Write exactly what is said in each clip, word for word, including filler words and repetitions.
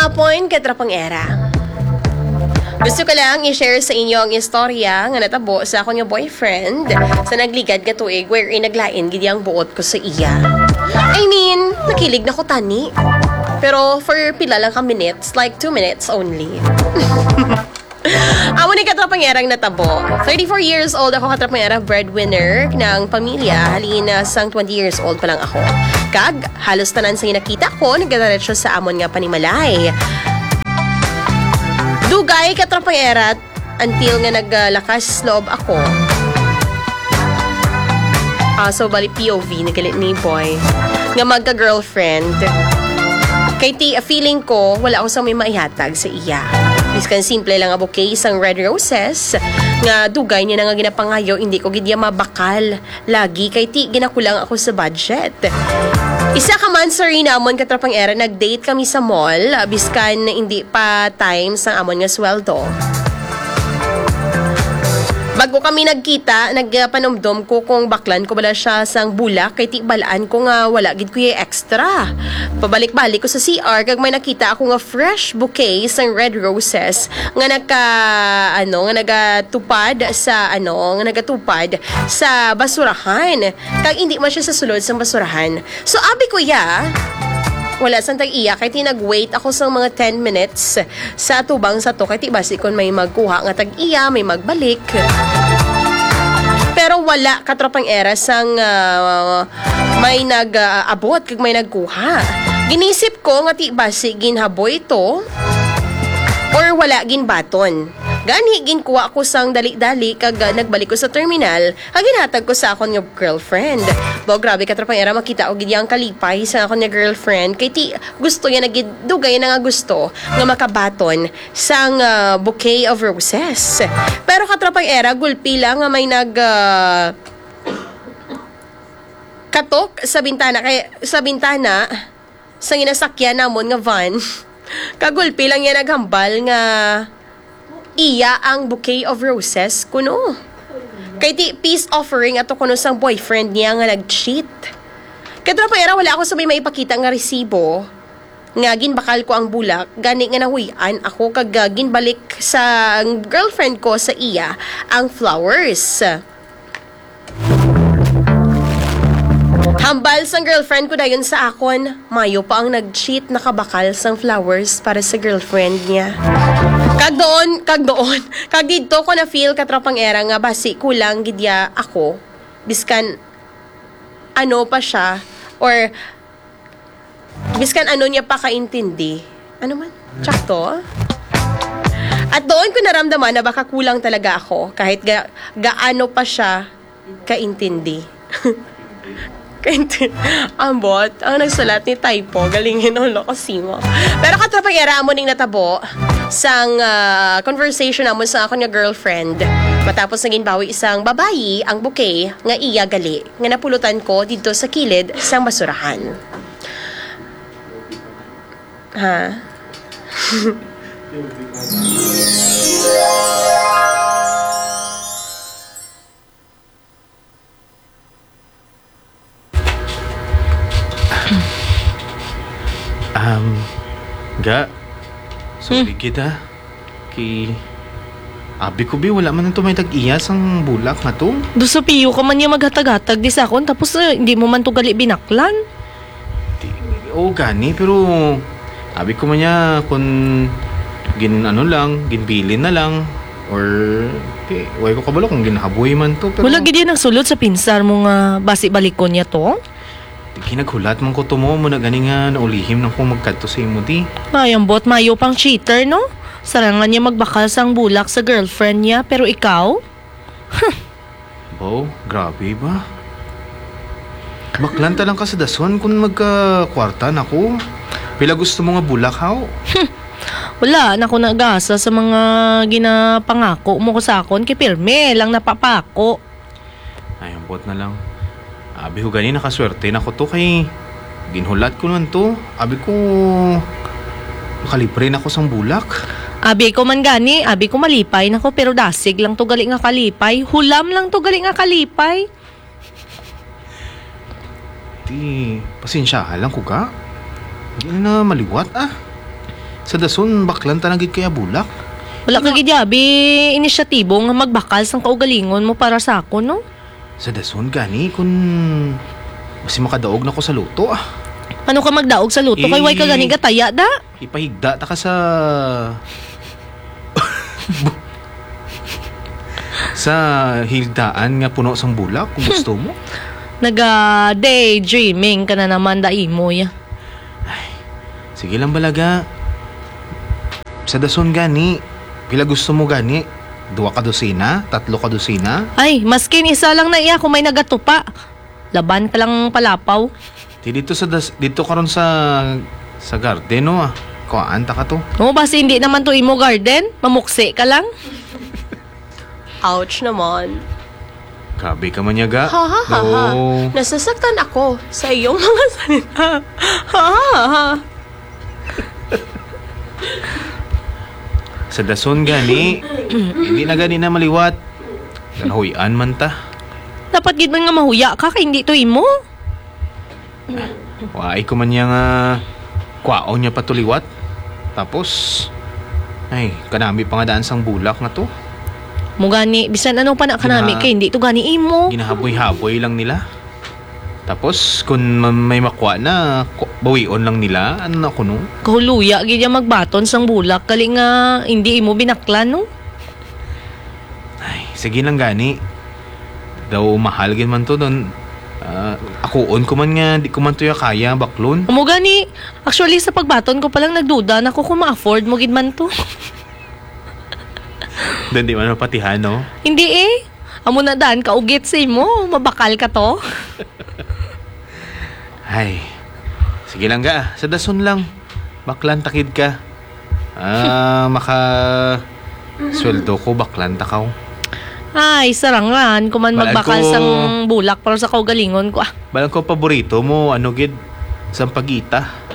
Point, katrapang era. Gusto ko lang i-share sa inyo ang istorya nga natabo sa akon nga boyfriend sa nagligad nga tuig, wherein naglain gid ang buot ko sa iya. I mean, nakilig na ko tani. Pero for pila lang ka minutes, like two minutes only. Amo ni, katrapang era, ang natabo. Thirty-four years old ako, katrapang era, breadwinner ng pamilya. Halin na sang twenty years old pa lang ako. Kag halos tanan sa nakita ko nagadiretso sa amon nga panimalay. Dugay, katrapang era, until nga naglakas loob ako. Ah, so, bali, P O V na gali ni boy nga magka-girlfriend. Kay ti, feeling ko, wala ako sa may maihatag sa iya. Biskan simple lang nga bouquet sang red roses, nga dugay niya na nga ginapangayo, hindi ko gid iya mabakal lagi, kay ti, ginakulang ako sa budget. Isa ka month sa rin namon, katrapang era, nag-date kami sa mall, biskan hindi pa time sang amon nga sweldo. Bago kami nagkita, nagpanumdom ko kung baklan ko bala siya sang bulak, kay ti, balaan ko nga wala gid ko iya extra. Pabalik-balik ko sa C R, kag may nakita ako nga fresh bouquet sang red roses nga naka, ano, nga nagatupad sa, ano, nga nagatupad sa basurahan. Kag hindi man siya sa sulod sang basurahan. So, abi ko, ya, wala sang tag-iya, kay ti, nag-wait ako sang mga ten minutes sa atubang sa to, kay ti, basi kon may magkuha nga tag-iya, may magbalik. Pero wala, katropang era, sang, ah, may nag-abot kag may nagkuha. Ginisip ko nga ti, basi ginhaboy to or wala ginbaton. Gani, ginkuha ko sang dali-dali kag, ah, nagbalik ko sa terminal. Ang ginhatag ko sa akon nga girlfriend. Baw, grabe, katropang era, makita ko gid ang kalipay sa akon nga girlfriend. Kay ti, gusto niya na gid, dugay na nga gusto nga makabaton sang, ah, bouquet of roses. Pero, katropang era, gulpi lang nga may nag, ah, katok sa bintana, kay sa bintana sa ginasakyan namon nga van. Kagulpi lang niya naghambal nga iya ang bouquet of roses kuno. Kay ti, peace offering ato kuno sang boyfriend niya nga nag-cheat. Katropang era, wala ako sa may maipakita nga resibo nga ginbakal ko ang bulak, gani nga nahuy-an ako kag, ah, ginbalik sa girlfriend ko sa iya ang flowers. Hambal sang girlfriend ko dayon sa akon, mayo pa ang nag-cheat nakabakal sang flowers para sa girlfriend niya. Kag doon, kag doon, kag didto ko na-feel, katropang era, nga basi kulang gid ya ako, biskan ano pa siya, or biskan ano niya pa kaintindi. Ano man? Tsakto? At doon ko naramdaman na baka kulang talaga ako, kahit ga-, gaano pa siya kaintindi. Kainti-, ambot, ang nagsulat ni typo, galingin ang loko simo. Pero, katropang era, amo ning natabo sang, ah, conversation namon sa akon nga girlfriend. Matapos na ginbawi sang babayi ang bouquet nga iya gali, nga napulutan ko didto sa kilid sang basurahan. Ha? Um, ga, sorry Hmm. kita. Ki-, abi ko, bi, wala man to may tag-iya sang bulak nga to. Do sa piyo ka man niya maghatag-hatag di sa akon, tapos, eh, hindi mo man to gali binaklan. Di, oo, gani, pero abi ko man niya, kung gin-, ano lang, ginbilin na lang, or, di, way ko kabalo kung ginhaboy man to, pero Wala gid yan ang sulod sa pinsar mo nga basi balikon niya to? Di, kinaghulat man ko to mo, mo na gani nga naulihim na kung magkadto sa imo, di. Ay, ambot, mayo pang cheater, no? Sarangan niya magbakal sang bulak sa girlfriend niya, pero ikaw? Huh. Bo, grabe ba? Baklan ta lang ka sa dason kung magkakwarta na ko. Pila gusto mo nga bulak, haw? Hmm. Wala na ko nag-asa sa mga ginapangako mo ko sa akon, kay pirme lang napapako. Ay, ambot na lang. Abi ko gani, nakaswerte na ko to kay ginhulat ko man to. Abi ko, makalibre na ko sang bulak. Abi ko man gani, abi ko malipay na ko, pero dasig lang to gali nga kalipay. Hulam lang to gali nga kalipay. Di, pasensyahan lang ko ka. Di na maliwat, ah. Sa dason, baklan ta na gid kaya bulak. Wala ka gid abi inisyatibo nga magbakal sang kaugalingon mo para sa akon, no? Sa dason gani, kun basi makadaog na ko sa luto, ah. Ano ka magdaog sa luto? Kay way ka Eh, gani gataya, da? Ipahigda ta ka sa sa higdaan nga puno sang bulak, kung gusto mo. Naga-daydreaming ka na naman, da, Imoy. Ay, sige lang, balaga. Sa dason gani, pila gusto mo gani? Duha ka dosina? Tatlo ka dosina? Ay, maskin isa lang na iya kung may nagatupa. Laban ka lang palapaw. Di dito sa das-, dito karon sa, sa garden, no, ah. Kuhaan ta ka to. Oh, basi hindi naman to imo garden. Mamuksi ka lang. Ouch naman. Grabe ka man, yaga. Ha, ha, ha, ha. No. Nasasaktan ako sa iyong mga salita. Ha, ha, ha. Sa dason gani, hindi na gani na maliwat. Ganahuy-an man ta. Dapat gid man nga mahuya ka kay hindi to imo. Waay ko man niya nga kwaon niya pa to liwat. Tapos, ay, kanami pa nga daan sang bulak nga to. Mo gani, bisan ano pa na kanami Gina- kay hindi to gani imo. Ginahaboy-haboy lang nila. Tapos, kung ma-, may makwa na, ku-, bawion lang nila. Ano na kuno? Kahuluya gid ya magbaton sang bulak, kali nga hindi imo binaklan, no? Ay, sige lang gani. Daw mahal gid man to, don. Ah, akuon ko man nga, di ko man to ya kaya, baklon. Amo gani, actually, sa pagbaton ko pa lang, nagduda na ko kung ma-afford mo gid man to. Don, di man mapatihan, no? Hindi eh. Amo na daan ka ugit sa imo, mabakal ka to. Ay, sige lang ga, sa dason lang. Baklan takid ka. Ah, maka sweldo ko, baklan ta ka, oh. Ay, sarangan, kuman Balaan magbakal ko sang bulak para sa kaugalingon ko, ah. Balaan ko, paborito mo, ano gid, sampagita.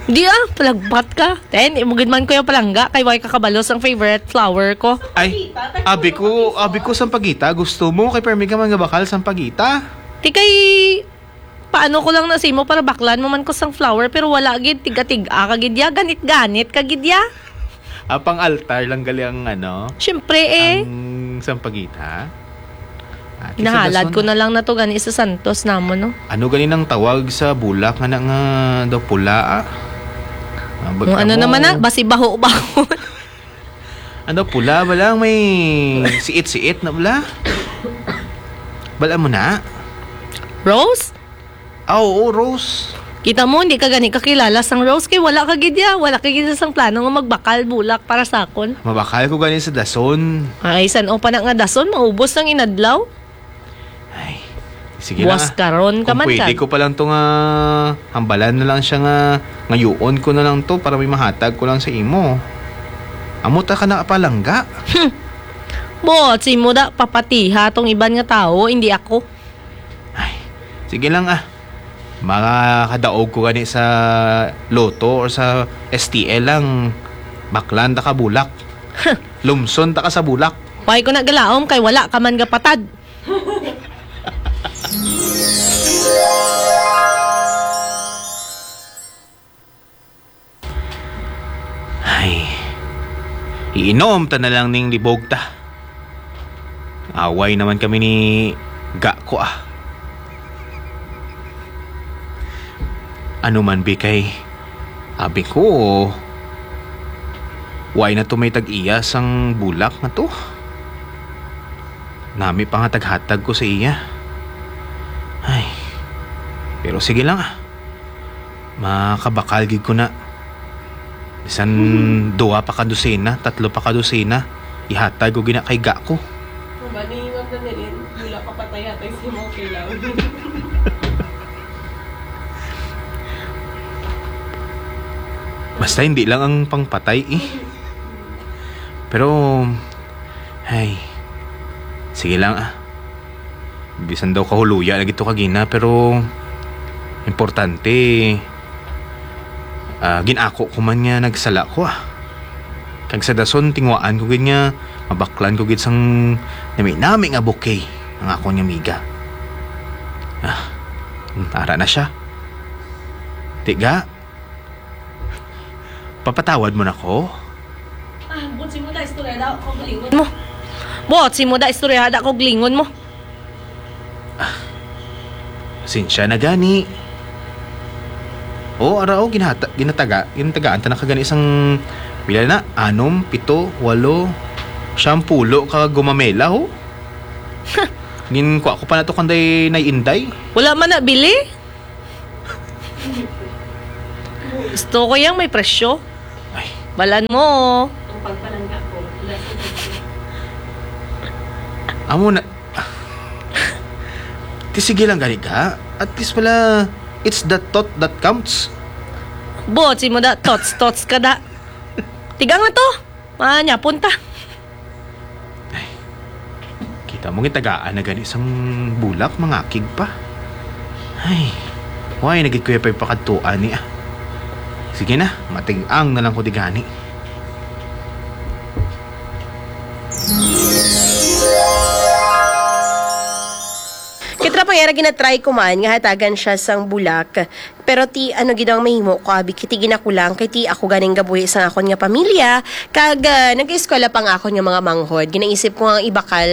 Di ah, palagpat ka. Ten, imo gid man ko yung palangga, kay way kakabalo sang favorite flower ko. Ay, abi ko, abi ko sampagita, gusto mo, kay permi ka man nga bakal sampagita. Di kay, paano ko lang na sa imo para baklan mo man ko sang flower, pero wala gid, tiga-tiga ka gid ya, ganit-ganit ka gid ya. Ah, pang altar lang gali ang ano? Siyempre eh. Ang sampagita? Ah, di sa Nahalad dason ko na. na lang na to gani sa santos namon, no? Ano gani nang tawag sa bulak nga na nga daw pula, ah? Ah, bag-, Kung ano amo. naman na, basi baho-baho. Ano, pula ba lang? May siit-siit na bala? Bala mo na? Rose? Ah, oo, Rose. Kita mo, hindi ka gani kakilala sang Rose kay wala ka gid ya. Wala ka gid sang plano nga magbakal bulak para sa akon. Mabakal ko gani sa dason. Ay, san-o pa na nga dason, maubos ang inadlaw. Ay, sige na Buwas nga. karon ka Kung man pwede ka. ko pa lang to nga hambalan na lang siya nga ngayoon ko na lang to para may mahatag ko lang sa imo. Amo ta ka na palangga. Hmm. Buot si mo da, papatiha tong iban nga tawo, hindi ako. Ay, sige lang ah. Makakadaog ko gani sa Lotto or sa S T L lang. Baklan ta ka bulak. Lumson ta ka sa bulak. Why ko na galaom kay wala ka man gapatad. Ay, iinom ta na lang ning libog ta. Away naman kami ni Ga ko, ah. Ano man, bi, kay abi ko, why na to may tag-iya sang bulak nga to? Nami pa nga taghatag ko sa iya. Ay, pero sige lang, ah. Makabakal gid ko na. Bisan duha pa ka dosena, tatlo pa ka dosena, ihatag ko gina kay Ga ko. Ang ba ni Ma'am Danilin, wala ka patay-hatay sa imong kailangan. Basta hindi lang ang pangpatay, eh. Pero, ay, sige lang, ah. Bisan daw kahuluya lagi to kagina, pero importante, ah, gin-ako ko man nga nagsala ko, ah. Kag sa dason, tingwaan ko gid nga mabaklan ko gid sang nami-nami nga bouquet ang akon nga amiga. Ah, hmm, ara na siya. Tiga, Papatawad mo na ko? Ah, buot simo da istorya da ko galingon mo. Buot simo da istorya da ko galingon mo. Sinsya na gani. O, ara, o, ginata, ginataga, ginatagaan ta na ka gani sang, pila na, anom, pito, walo, siyampulo ka gumamela, ho? Ginkuha ko pa na to kanday Nay Inday. Wala man na bili. Gusto ko yang may presyo. Ay, Balan mo. Amo na. Ti sige lang gani ka. At least pala, it's the thought that counts. Buot simo da, tots, tots ka da. Tigang na to. Manyapon ta. Kita mo, gitagaan na gani sang bulak, mangakig pa. Ay, why nagit kuya pa ipakadtuan ni ah. Sige na, mating-ang na lang ko di gani. Kitra pang era ginatry ko man nga hatagan siya sang bulak. Pero ti ano gid ang mahimo ko abi kay ti ginakulang kay ti ako ganing gabuhi sang akon nga pamilya kag ah, nag-eskwela pang akon nga mga manghod. Ginaisip ko nga ang ibakal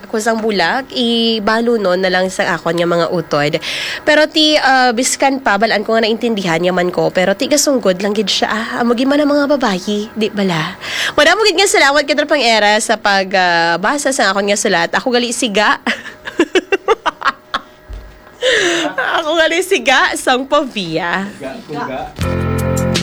ko sang bulak, ibalunon na lang sang akon nga mga utod. Pero ti ah, biskan pa balaan ko nga naintindihan niya man ko pero ti gasunggod lang gid siya. Ah, amo gid man ang mga babayi, di bala? Madamo gid nga salamat kitra pang era sa pag ah, basa sang akon nga sulat. Ako gali siga. Ako gali siga sang pavia. Kuga.